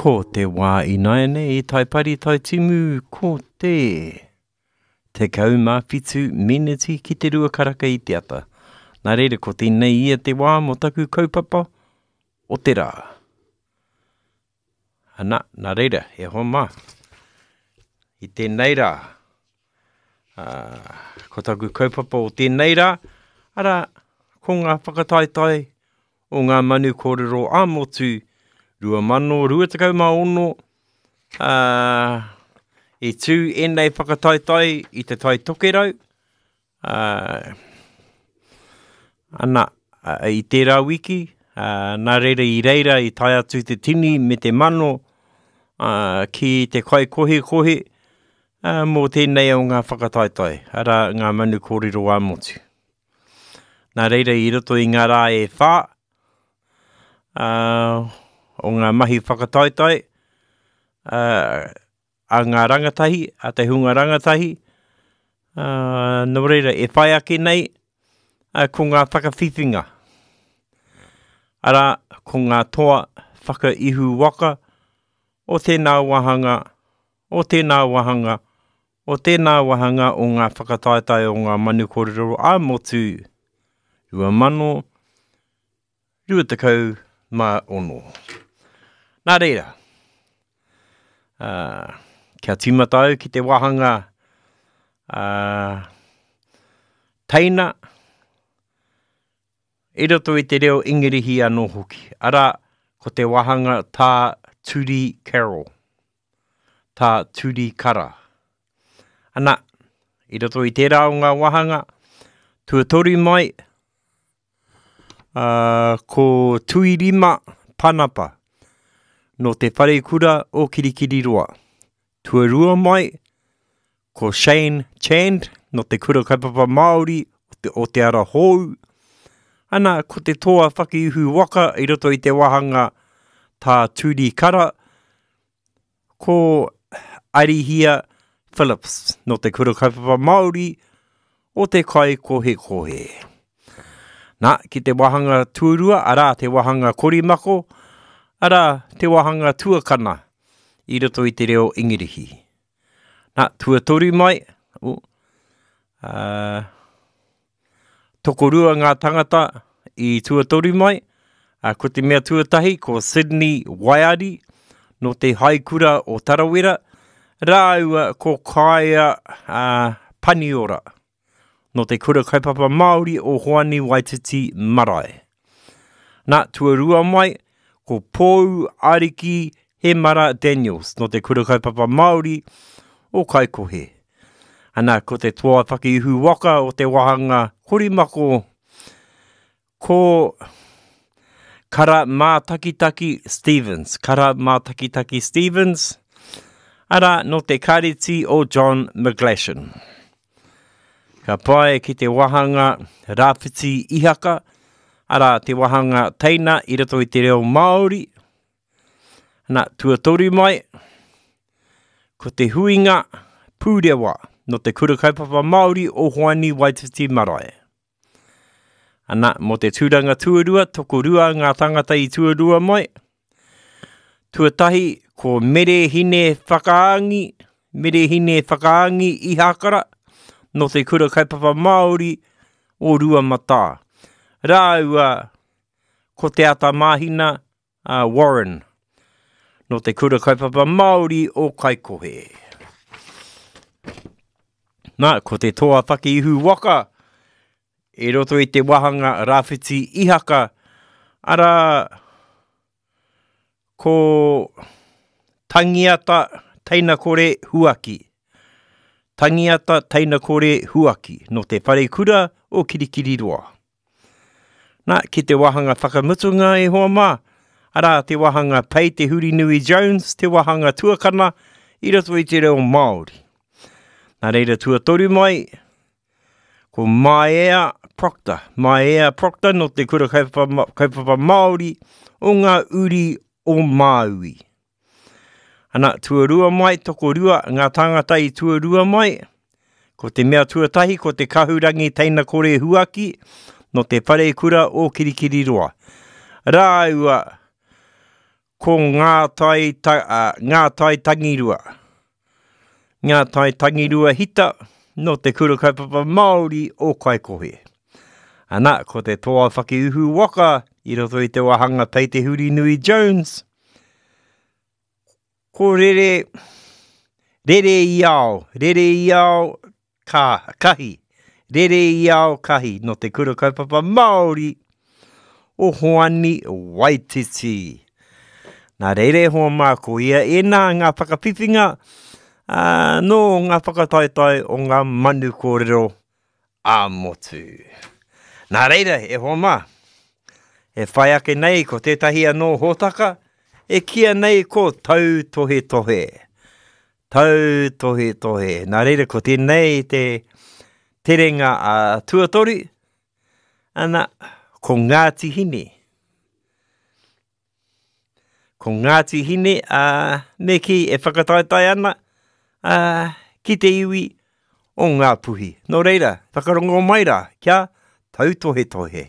Ko te wā ināianei i Taipari Taitimu ko te 17 meneti ki te rua karaka i te ata. Nā reira ko tēnei ia te wā mō taku kaupapa o te rā. Ana, nā reira, e hoa mā, i tēnei rā, ā, ko taku kaupapa o tēnei rā, arā, ko ngā whakataetae o ngā manu kōrero ā-motu 2026, ā, i tū ēnei whakataetae i Te Tai Tokerau, ā, ana, i tērā wiki, ā, nā reira i reira i tae atu te tini me te mano, ā, ki te kaikohekohe, ā, mō tēnei o ngā whakataetae, arā, ngā manu kōrero ā-motu. Nā reira i roto i ngā rā e whā, ā, o ngā mahi whakataetae, ā, a ngā rangatahi, a te hunga rangatahi, ā, nō reira, e whai ake nei, ā, ko ngā whakawhiwhinga. Arā, ko ngā toa whakaihu waka o tēnā wāhanga, o tēnā wāhanga, o tēnā wāhanga o ngā whakataetae o ngā manu kōrero ā-motu 2000, 26. Nā reira, ā, kia tīmata au ki te wāhanga ā, teina i roto i te reo Ingirihi anō hoki. Arā, ko te wāhanga tā Turi Carroll, tā Turi Kara. Ana, i roto i tērā o ngā wāhanga, tuatoru mai, Ā, ko Tuirima Panapa, nō te wharekura o Kirikiriroa. Tuarua mai, ko Shane Chand, nō te Kura Kaupapa Māori o te, o te Ara Hou. Ana, ko te toa whakiuhu waka i roto i te wāhanga tā Turi Kara, Ko Arihia Phillips nō Te Kura Kaupapa Māori o Te Kaikohekohe. Nā, ki te wāhanga tuarua, arā, te wāhanga korimako, arā, te wāhanga tuakana i roto i te reo Ingirihi. Nā, tuatoru mai, oh, uh, Tokorua ngā tangata i tuatoru mai, ā, ko te mea tuatahi ko Sydney Waiari nō te Haikura o Tarawera, rāua ko Kaia ā, Paniora nō te Kura Kaupapa Māori o Hoani Waititi Marae. Nā, tuarua mai, ko Pou Ariki Hemara Daniels nō te Kura Kaupapa Māori o Kaikohe. Ana, ko te toa whakiihu waka o te wāhanga korimako, ko Kara Mātakitaki Stevens, Kara Mātakitaki Stevens, arā, nō te kāreti o John McGlashan. Ka pae ki te wāhanga Rāwhiti Ihaka, arā, te wāhanga teina i roto i te reo Māori, Ana, tuatoru mai, ko te huinga pūrewa nō te Kura Kaupapa Māori o Hoani Waititi Marae. Ana, mō te tūranga tuarua, tokorua ngā tāngata i tuarua mai. Tuatahi, ko Mere Hine Whakaangi, Mere Hine Whakaangi Ihakara, nō te Kura Kaupapa Māori o Ruamatā. Rāua ko Te Ata Māhina, a Warren, nō te Kura Kaupapa Māori o Kaikohe. Nā, ko te toa whakiihu waka i roto i te wāhanga Rāwhiti Ihaka, arā, ko Tangiata Teinakore Huaki. Tangiata Teinakore Huaki, nō te Wharekura o Kirikiriroa. Nā, ki te wāhanga whakamutunga e hoa mā, arā, te wāhanga Pei Te Hurinui Jones, te wāhanga tuakana i roto i te reo Māori. Nā reira tuatoru mai, ko Maea Proctor. Maea Proctor nō te Kura Kaupapa, Kaupapa Māori o ngā uri o Māui. Ana, tuarua mai, tokorua ngā tāngata i tuarua mai. Ko te mea tuatahi, ko te kahurangi teina kore huaki, no te wharekura o Kirikiriroa. Rāua, Ko ngā tai, ta, ngā tai tangirua. Ngā tai tangirua hita nō te Kura Kaupapa Māori o Kaikohe. Ana, ko te toa whakiuhu waka i roto i te wāhanga Pei Te Hurinui Jones. Ko rere, rere i ao, rere i ao, ka, kahi, rere i ao kahi nō te Kura Kaupapa Māori o Hoani Waititi. Nā reira e hoa mā, ko ia ēnā ngā whakawhiwhinga ā, nō ngā whakataetae o ngā manu kōrero ā-motu. Nā reira, e hoa mā, e whai ake nei ko tētahi anō hōtaka e kīia nei ko Tautohetohe. Tautohetohe. Nā reira, ko tēnei te terenga a tuatoru, ana, ko Ngāti Hine. Ko Ngāti Hine, a, me kī, e whakataetae ana a, ki te iwi o Ngāpuhi. Nō reira, whakarongo mai rā, kia tautohetohe.